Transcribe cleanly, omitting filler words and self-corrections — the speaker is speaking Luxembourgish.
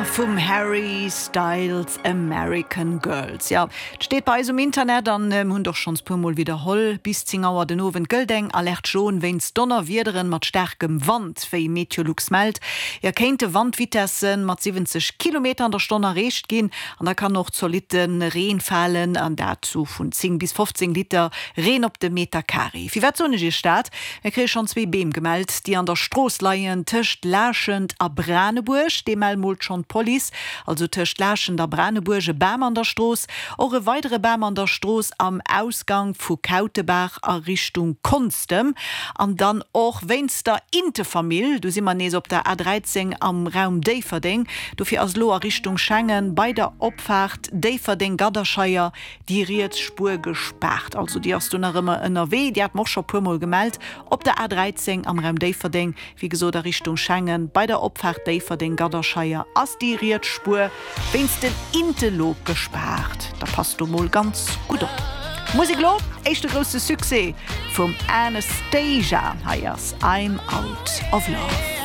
Vum Harry Styles American Girls. Jo, et steet bei eis um Internet an mir hunn et och schonns puer mol widderholl, bis 10 Auer den Owend gëllt eng Alerte jaune wéinst Donnerwiederen mat staarkem Wand. Wéi Meteolux mellt, jo kéinte Wandvitesse mat 70 Kilometer an der Stonn erreecht ginn an da kann och zolitte Reen falen an dat sou vun 10 bis 15 Liter Reen op de Meter Carré. Firwat soen ech iech dat? Mir kréie schonn zwee Beem gemellt, déi an der Strooss leien tëscht Laaschent a Branebuerg. Dee mell moolt schonn d'Police. Also tëscht Laaschent a Branebuerg e Bam an der Strooss. Och e weidere Bam an der Strooss am Ausgang vu Kautebaach a Richtung Konstem. An dann och wéinst der Intefamill, do si mer nees op der A 13 am Raum Déifferdeng. Dofir ass elo a Richtung Schengen bei der Opfaart Déifferdeng-Gadderscheier Déi riets Spuer gespaart, also déi ass do nach ëmmer ënnerwee. Déi hat mer och scho puermol gemellt op der A 13 am Raum Déifferdeng, wéi gesot a Richtung Schengen. Bei der Opfaart Déifferdeng-Gadderscheier ass déi riets Spuer wéinst den Inte lo gespaart. Da passt do mol ganz gutt op. Musek elo, éischte grousse Succès vum Anastacia, hei ass I'm Out of Love.